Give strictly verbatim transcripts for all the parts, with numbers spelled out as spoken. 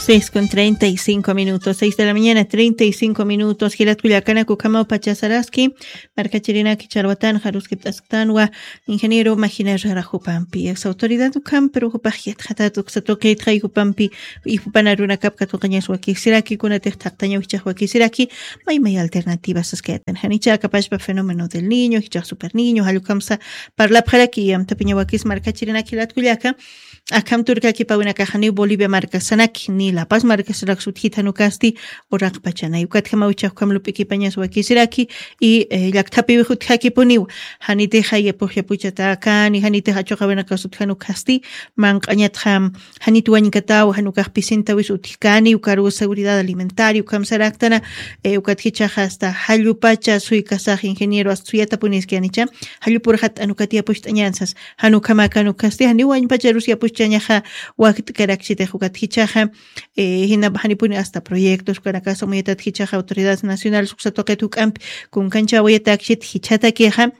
Seis con treinta y cinco minutos, seis de la mañana, treinta y cinco minutos. Jilat kullakanak, ukhamaw pachasaraski markachirinaki charwatan jaruskipt'asktanwa ingeniero Magina Herrera jupampi. Ex autoridad ukham, pero jupax yatxatat uksa tuqitxay jupampi, y jupan arunakap katuqañas wakisiraki, kunatix thaqtañaw jichax wakisiraki, may may alternativas saskayatan. Janicha akapashpa fenómeno del niño, jichax super niño, jallukamsa parlapxaraki, y amtapiña wakis markachirinaki jilat kullaka. Akham turkakipawinakaxa ni Bolivia markasanaki, ni La Paz markasanak sutjit janukasti, uraqpachanay. Ukatjamaw ichax ukham lup'ikipañas wakisiraki, y, eh, llakthapiwix utjakipuniw. Janitixa yapux yapuchatäkani, janitix achuqawinakas utjanukasti, manq'añatxa, janit wañkataw, janukax pisintawis utjkani, ukaru seguridad alimentaria, ukham saraktana, eh, ukat jichaxa hasta jallupacha suykasax ingeniero, hasta suyatapuniskanicha, jallupur jat'an ukat yapucht'añansas. Jan ukhamakan ukasti, janiw wañpacharus yapuchchañaxa wakt'karakchitix ukat jichaxa, eh, jina janipuni hasta proyectos, ukanakasa muyatat jichaxa autoridades nacionales uksa tuqit juk'ampi, kunkanchawayatakchit jichhatakixa,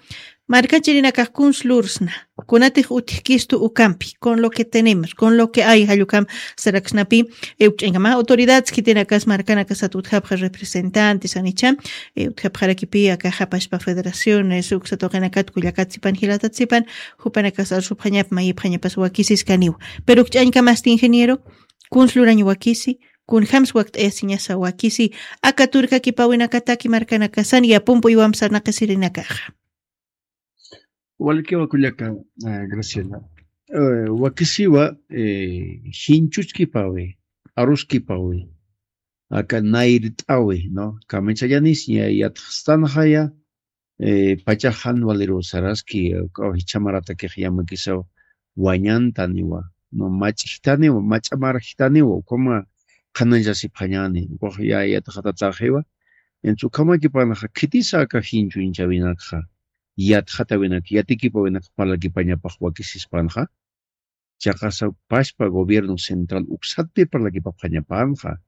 markachirinakax kuns lursna, kunatix utjkistu ukampi, con lo que tenemos, con lo que hay, jallukam saraksnapi, eh, ukch'ankama autoridades khitinakas markanakasat utjapxa representantes, janicha, eh, utjapxarakipi akaxa pashpa federaciones, uksa tuqinakat kullakat sipan, jilatat sipan, jupanakas arsupxañap, mayipxañapas wakisiskaniw. Pero ukch'añkamasti ingeniero, kuns lurañ wakisi, kunjams wakt'ayasiñasa wakisi, aka turkakipawinakataki markanakasan, yapumpuywam sarnaqisirinakaxa. Walikiwa kullaka, eh, Graciela. Eh, wakisiwa, eh, jinchuchkipawi, aruskipawi, aka nayrt'awi, ¿no? Kamichayanis ña yatxstanxaya, eh, pachaxan waliru saraski, eh, ukaw jichhamaratakix yamakisaw wañantaniwa, ¿no? Mach'jtaniwa, mach'amarjtaniwa, ukhama qhananchasipxañani, ukax ya yatxatataxiwa. Entonces, ukhamakipanxa, khitisa aka jinchuñchawinakxa, yatxatawinak, yatikipawinak parlakipañapax wakisispanxa, chiqasa pashpa gobierno central uksatpi parlakipapxañapanxa.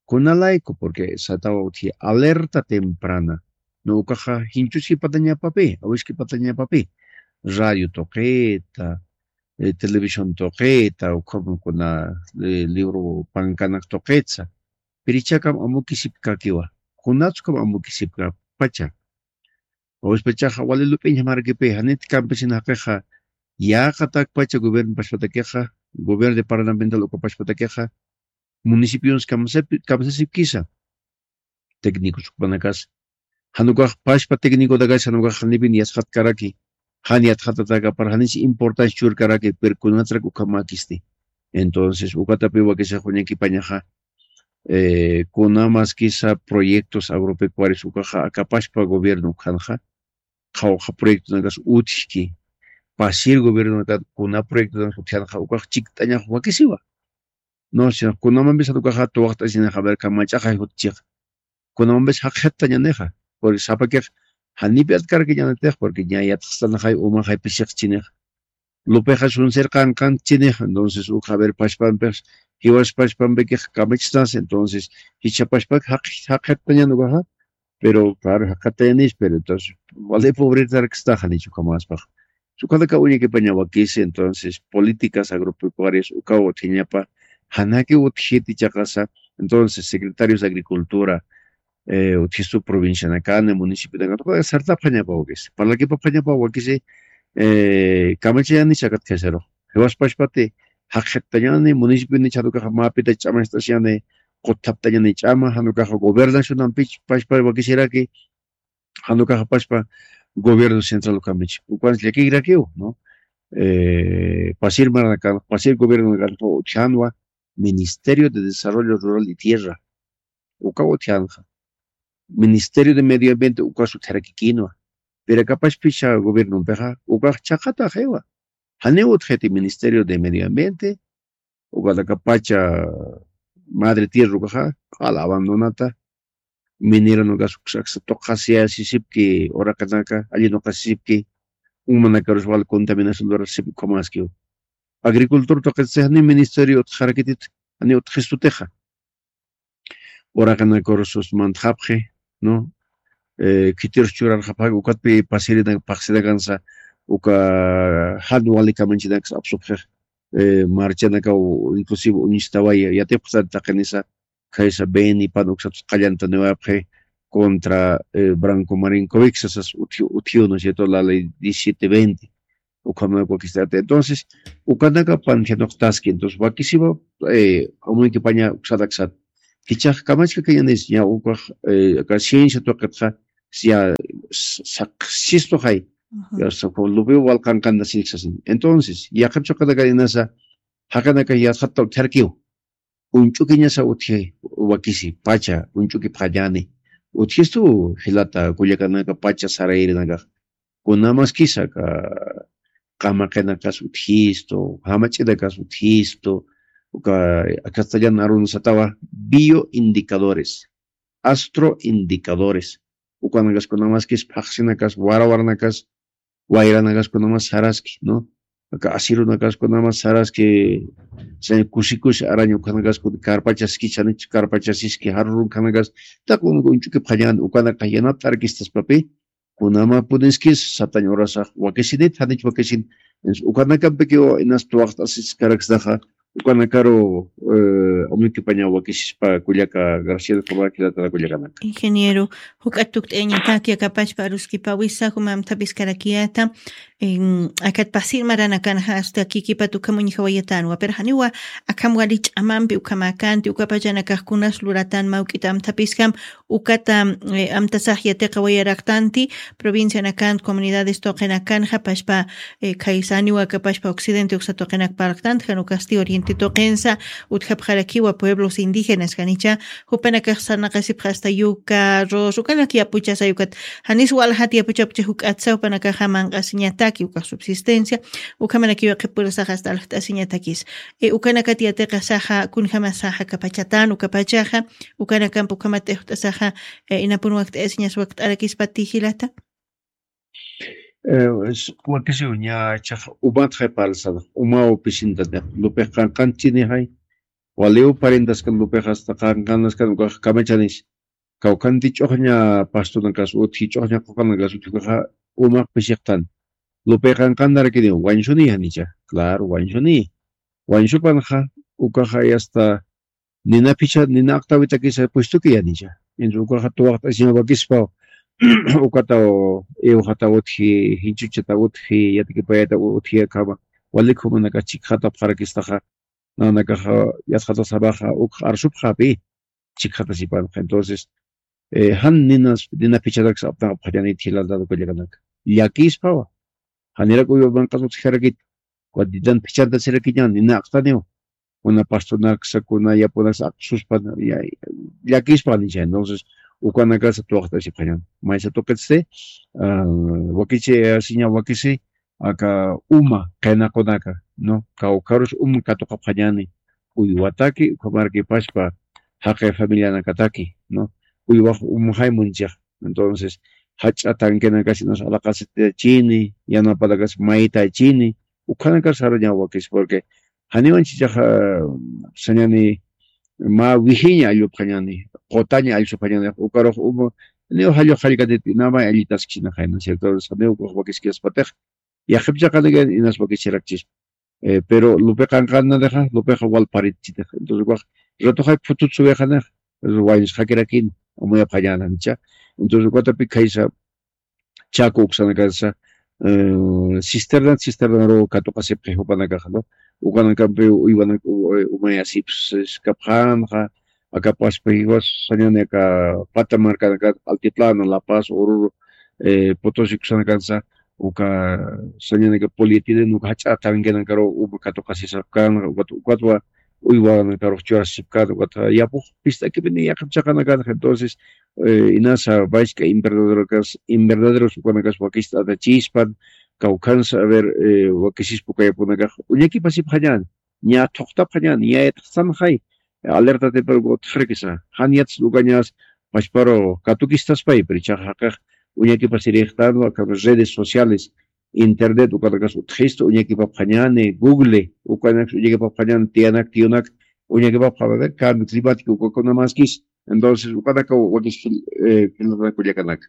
Kunalayku, porque satawa utji alerta temprana, ¿no? Ukaxa jinchuskipatañapapi, awiskipatañapapi, radio tuqita, eh, televisión tuqita, ukhama kuna, eh, libro pankanak tuqitsa. Pirichakam amukisipkakiwa, kunatskam amukisipkapacha. Awispachaxa wali lup'iñjamarkipi, janit campesino jaqixa, yaqatakpacha gobierno pashpatakixa, gobierno departamental uka pashpatakixa, municipios kamsasipkisa, técnicos ukpanakas. Janukax pashpa técnicotakas, janukax janipin yatxatkaraki, jan yatxatatakapar, janich importancia churkaraki, pero kunatrak ukhamakisti. Entonces, ukatapi wakisix uñakipañaxa, eh, kunamaskisa proyectos agropecuarios ukaxa, akapashpa gobierno ukhanxa, qhawqha proyectonakas utjki, pasir gobiernonakat kuna proyectonakas utjanxa, ukax chikt'añax wakisiwa. No, sino kunamambis ukaxa tuwaqt'asinaxa, a ver, kamach'axay jutchix. Kunamambis jaqxattañanixa. Porque sapakix janipi atkarkiñanitix, porque ña yatxstanaxay umaxay pisiqchinix. Lupixa sunsir qanqanchinix, entonces, uka, a ver, pashpampix, jiwas pashpampikix kamachstas, entonces, jichha pashpak jaq-, jaqxattañan ukaxa, pero, claro, jaqxattañanis, pero, entonces, wali pobretarakstaxa, nichu kamaspax. Ukanaka uñakipaña wakisi, entonces, políticas agropecuarias ukaw utjiñapa, janaki utjiti chiqasa, entonces, secretarios de agricultura, eh, utjistu provincianakani, municipionakan, sartapxañapa wakisi, parlakipapxañapa wakisi, eh, kamachayani chakatkasaru. Jiwas pashpati, jaqxattañani, municipio ni chharukaxa mapita ch'amacht'asiñani, qutthaptañani ch'ama, janukaxa gobernacionampich pashpa wakisiraki, janukaxa pashpa gobierno central ukamich. Ukan llakirakiw, ¿no? Eh, pasir maranakan, pasir gobierno kan, utjanwa, Ministerio de Desarrollo Rural y Tierra. Uka utjanxa. Ministerio de Medio Ambiente uka utjarakikinwa. Pero akapashpicha gobiernompixa, ukax chaqataxiwa. Janiw utjiti Ministerio de Medio Ambiente, uka akapacha madre tierra ukaxa, q'ala abandonata, minera nukas uksa tuqasiyasisipki, uraqinaka, allinuqasisipki, umanakarus wal contaminación lurasisipki, ukhamaskiw. Agricultor tuqitsa, jani ministerio utjarakitit, jani utjistutixa. Uraqinakarusus mantxapxi, ¿no? Eh, khitirus churarxapxaki, ukatpi pasirina, paqsinakansa, uka jan wali kamanchinaksa apsupxix. eh, marchanakaw inclusive uñistawaya yatipxtan taqinisa, khaysa Beni pan uksat qallantaniwapxi contra, eh, Branco Marinkovic sasas utjiw, utjiw, ¿no es cierto? La ley diecisiete veinte. Ukhamanaka wakist'ata. Entonces, ukanaka panjanoqtaski. Entonces, wakisiwa, eh, amuykipaña uksataksat. Kichax kamachka kañanis, ña ukax, eh, aka ciencia tuqitxa, ya, s-, saqsistuxay. Ya, sa-, lupiw walqanqantasinxasin. Entonces, yaqhipchuqanaka inasa, jaqinaka yatxatta utjarkiw. Uñch'ukiñasa utji wakisi, pacha, uñch'ukipxañani. Utjistu jilata, kullakanaka, pacha sarayrinakax. Kunamaskisa aka qamaqinakas utjistu, jamach'inakas utjistu, uka castellan arunasatawa bioindicadores, astroindicadores. Ukanakas kunamaskis phaxsinakas, warawaranakas, wayranakas kunamas saraski, ¿no? Aka asirunakas kunamas saraski, se kusi kusi araña ukanakas kun karpachaski, chanich karpachasiski, jarurun kanakas, taq uñch'ukipxañan, ukanaka yanapt'arkistaspapi, kunama puniskis, satañ urasax wakisinit, janich wakisin, ukanakampiki inas tuwaqt'asiskaraksnaxa, ukanakaru, eh, amuykipaña wakisispa kullaka Graciela Cabral jilatara kullakanaka. Ingeniero, juk'at tukt'ayañataki akapachpa aruskipawisa, juma amthapiskarakiyata, em, akat pasir maranakanxa hasta kikipat ukham uñjawayatanwa, pero janiwa akham wali ch'amampi ukhamakanti, ukapachanakax kunas luratan mawk'ita amthapiskam, ukata, eh, amtasax yatiqawayaraqtanti, provincianakan, comunidades tuqinakanxa, pachpa, eh, khaysaniwa aka pachpa occidente uksa tuqinak parlqtanti, jan ukasti oriente tuqinsa, utjapxarakiwa pueblos indígenas, janicha, jupanakax sarnaqasipxa hasta yuka, arroz, ukanak yapuchasay ukat, janis waljat yapuchapchi juk'atsa, jupanakaxa manq'asiñataki, ukax subsistencia, ukhamanakiwa qhipurasax hasta aljt'asiñatakis. Eh, ukanakat yatiqasaxa, kunjamasaxa, kapachatan, ukapachaxa, ukanakamp ukhamat t'ijt'asaxa, eh, inapun wakt'ayasiñas wakt'arakispa tijilata. Eh, es-, wakisiw ña chax umat jay parlsan, umaw pisintan, lupiq qanqanchini jay, waliw parientaskan lupiq hasta qanqanaskan ukax kamachanis. Kawkhanti ch'uxña pastonakas utji, ch'uxña quqanakas utji, ukaxa umaq pisiqtan. Lupiq qanqantarakiniw, wañsuni janicha, claro, wañsuni. Wañsupanxa, ukaxa hasta nina phicha, nina aqtawitakisa puestuki yanicha. Entonces, ukaxa tuwaqt'asiña wakispaw, ukataw, iwxataw utji, jinchuchataw utji, yatikipayataw utji, akhama, walik jumanakax chikxatapxarakistaxa, nanakaxa, yatxatasamaxa, ukx arsupxapi, chikxatasipanxa. Entonces, eh, jan ninas, nina phicharaksa apnaqapxañanit jilatata kullakanaka. Llakispawa. Janirak uywa manq'as utjarakit. Ukat ninan phichantasirakiniw, nina aqtaniw. Kuna pastonaksa, kuna yapunaksa aqtsuspan, ya, llakispa nisha. Entonces, ukanakasa tuwaqt'asipxañan. Maysa tuqitsti, ah, wakichi, asiña wakisi, aka uma, qinaqunaka, ¿no? Kawkharus uma katuqapxañani, uywataki, ukhamarkipaspa, jaqi familianakataki, ¿no? Uywax umxay munchix. Entonces, jach'a tanquenakasinas alaqasitachini, yanapanakas maytachini, ukhanakas saraña wakis, porque janiwan chichaxa sañani mä wijiña allupxañani, qutaña allsupxañani, ukarux uma, niw jallux jallkatit namay allitaskchinaxay, ¿no es cierto? Saniw ukax wakiskispatix, yaqhip chaqanakayan inas wakichirakchis. Eh, pero lupi qanqannanixa, lupixa wal paritchitix. Entonces, ukax ratuxay phutut suwixanix, wañusxakirakin, amuyapxañäna, ¿no? Entonces, ukatapi khaysa, Chaco uksanakansa, eh, cisterna, cisternaru katuqasipxi jupanakaxa, ¿no? Ukanakampi uywanak, u-, eh, umayasipskapxänxa, akapaspa jiwas sañani aka pata markanakat, Altiplano, La Paz, Oruro, eh, Potosí uksanakansa, uka sañani aka polietileno, uka jach'a tanquenakaru uma katuqasisapkänxa, ukat, ukatwa uywanakaru churasipkänxa, ukat yapux pist'akipini yaqhip chaqanakanxa. Entonces, eh, inasa, vaychka invernaderokas, invernaderos ukanakas wakist'atachispan, kawkhansa, a ver, eh, wakisispa uka yapunakax, uñakipasipxañän, ña thuqtapxañän, ña yatxtanxay, alerta temprano utjarakisa, jan yats ukañas, pachparu katukistaspay, pero ichaxa jaqix, uñakipasirïxtanwa, aka redes sociales, internet, ukanakas utjistu, uñakipapxañäni, Google, ukanakas uñakipapxañäni, tiyanak, tiyunak, uñakipapxañäni, cambio climático, ukakunamaskis, entonces, ukanaka wakis jil-, eh, jilata kullakanaka.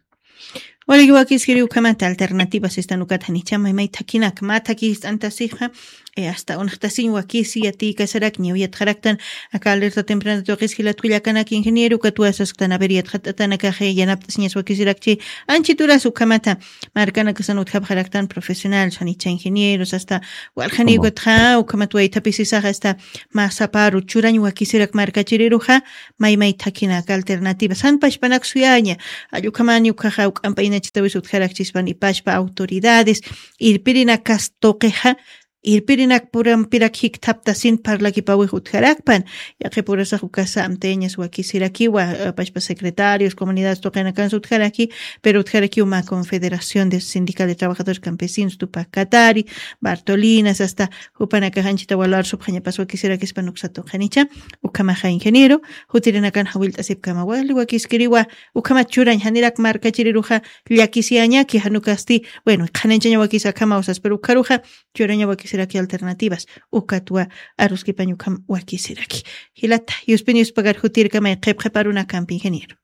Walikiwa wakiskiri ukhamata alternativas sistan ukat janicha maymay thakinak mä thakist'antasixa, eh, hasta unaxtasiñ wakisi yatiykasarak ñaw yatxaraktan aka alerta temprana tuqis jilat kullakanak ingeniero ukat wasasktan a ver yatxatanakax yanapt'asiñas wakisirakchi. Anchituras ukhamata markanakasan utjapxaraktan profesional janicha ingenieros hasta walxani ukatxa ukhamat waythapisisaxa hasta mä saparu churañ wakisirak markachiriruxa maymay thakinak alternativas jan pachpanak suyaña. Allukhamani ukhaxa uk'amp'aynachitawis utjarakchispan ipachpa autoridades irpirinakas tuqixa irpirinak purampirak jikthaptasin parlakipawix utjarakpan. Yaqipurasax ukasa amteñas wakisirakiwa pachpa secretarios comunidades tuqinakansa utjaraki. Pero utjarakiw mä confederación de sindical de trabajadores campesinos tupak katari bartolinas hasta jupanakax anchita walar supxañapas wakisirakispan uksa tuqinicha. Ukhamaxa ingeniero jutirinakan jawillt'asipkama wali wakiskiriwa. Ukhamat churañ janirak markachiriruxa llakisiyañaki janukasti. Bueno qhananchaña wakisa akhama usas pero ukharuxa churaña wakisiraki alternativas ukatwa aruskipañ ukham wakisiraki. Jilata yuspin yuspagar jutirkamay qhipqhiparunakampi ingeniero.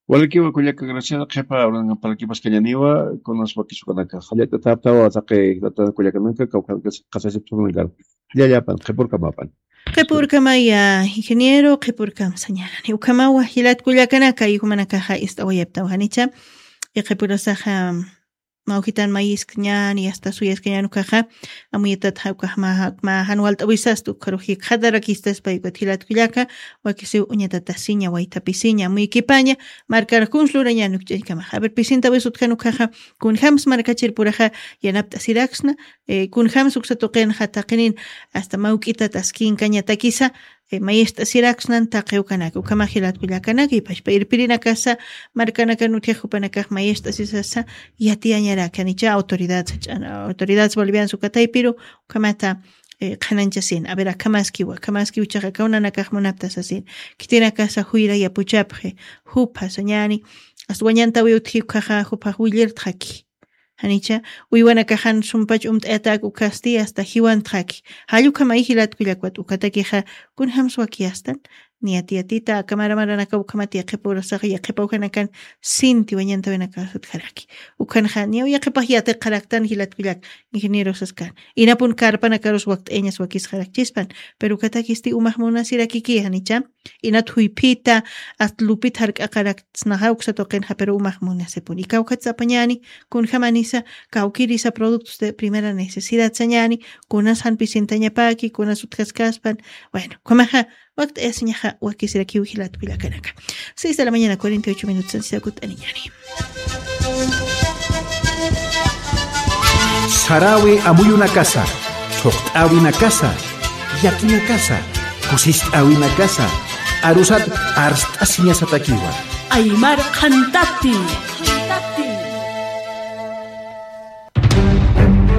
Walikiwa kullaka graciada qhipa uranakampi parlakipaskañaniwa kunas wakisukanaka jallata thaptawa taqi jilata kullakanaka kawkhanaka qasasiptunankaru. Jallallapan qhipurkamapan. Qhipurkamaya ingeniero qhipurkam sañani ukhamawa jilat kullakanaka yujumanakaxa ist'awayaptaw janicha. Iqhipurasaxa mawjitan mayiskañani asta suyaskañani ukaxa amuyatat jawkax ma jan walt'awisasta ukarux jikxatarakistaspa yukat jilat kullaka. Wakisiw uñatatasiña waytapisiña amuykipaña markar kuns lurañani ukch'aykamaxa a ver pisintawis utjan ukaxa kunjams markachir puraxa yanapt'asiraksna. Kunjams uksa tuqinxa taqinin asta mawk'itat askinkañatakisa mayist'asiraksnan taqi ukanaka ukhamax jilat kullakanaka ipachpa irpirinakasa markanakan utjix jupanakax mayist'asisasa yatiyañarakanicha autoridad sach'ana autoridades bolivianas ukataypiru ukhamata qhananchasin a ver akhamaskiwa akhamaskiw chaqa kawnanakax munaptasasin. Khitinakasa juyra yapuchapxi jupha sañani asta wañantawi utji ukhaxa juphax willirtxaki. Janicha uywanakaxan sumpach umt'ayatak ukhasti asta jiwantxaki. Jallukhamay jilat kullakwat ukhatakixa kunjams wakiyastan niyat yatita akamaramaranakan ukhamat yaqhipurasax yaqhipawjanakan sinti wañantawinakasutjaraki. Ukhanxa niyaw yaqhipax yatiqaraktan jilat kullak ingenierosaskan inapun karpanakarus wakt'ayañas wakisxarakchispan. Pero ukhatakisti umax munasirakiki janicha inat juyphita asta lupit jark'aqaraksnaxa uksa tuqinxa pero umax munasipun ikawkhat sapañani. Kunjamanisa kawkirisa productos de primera necesidad sañani kunas janpisintañapaki kunas utjaskaspan. Bueno ukhamaxa wakt'ayasiñaxa wakisirakiw jilat kullakanaka. Seis de la mañana cuarenta y ocho minutos ansisakut'aniñani. Sarawi amuyunakasa thuqt'awinakasa yakinakasa kusist'awinakasa arusat arst'asiñasatakiwa. Aymar qhantati.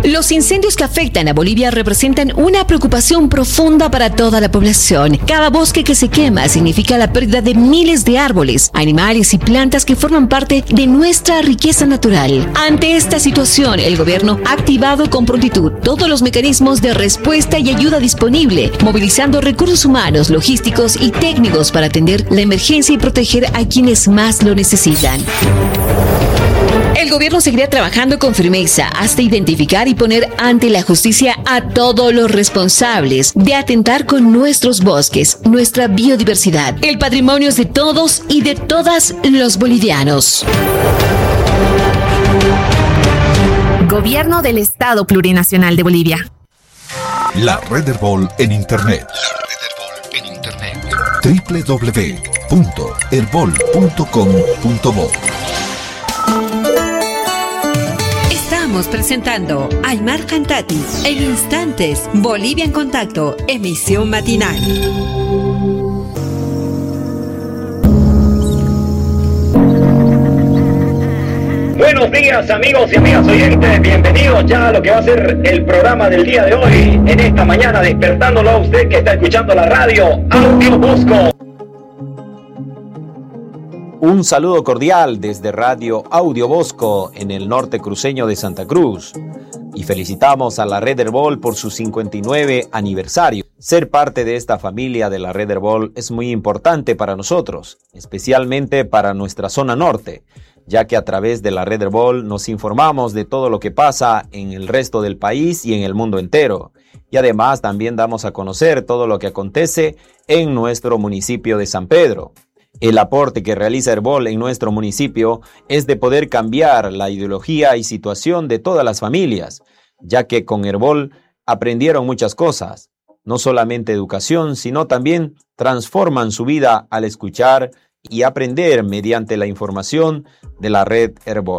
Los incendios que afectan a Bolivia representan una preocupación profunda para toda la población. Cada bosque que se quema significa la pérdida de miles de árboles, animales y plantas que forman parte de nuestra riqueza natural. Ante esta situación, el gobierno ha activado con prontitud todos los mecanismos de respuesta y ayuda disponible, movilizando recursos humanos, logísticos y técnicos para atender la emergencia y proteger a quienes más lo necesitan. El gobierno seguirá trabajando con firmeza hasta identificar y poner ante la justicia a todos los responsables de atentar con nuestros bosques, nuestra biodiversidad, el patrimonio de todos y de todas los bolivianos. Gobierno del Estado Plurinacional de Bolivia. La Red Erbol en Internet. La Red Erbol en Internet. W W W punto erbol punto com punto bo. Estamos presentando Aymar Cantati en instantes, Bolivia en Contacto, emisión matinal. Buenos días, amigos y amigas oyentes. Bienvenidos ya a lo que va a ser el programa del día de hoy, en esta mañana, despertándolo a usted que está escuchando la radio Audio Bosco. Un saludo cordial desde Radio Audio Bosco en el norte cruceño de Santa Cruz. Y felicitamos a la Red Erbol por su cincuenta y nueve aniversario. Ser parte de esta familia de la Red Erbol es muy importante para nosotros, especialmente para nuestra zona norte, ya que a través de la red Erbol nos informamos de todo lo que pasa en el resto del país y en el mundo entero. Y además también damos a conocer todo lo que acontece en nuestro municipio de San Pedro. El aporte que realiza Erbol en nuestro municipio es de poder cambiar la ideología y situación de todas las familias, ya que con Erbol aprendieron muchas cosas, no solamente educación, sino también transforman su vida al escuchar y aprender mediante la información de la red Erbol.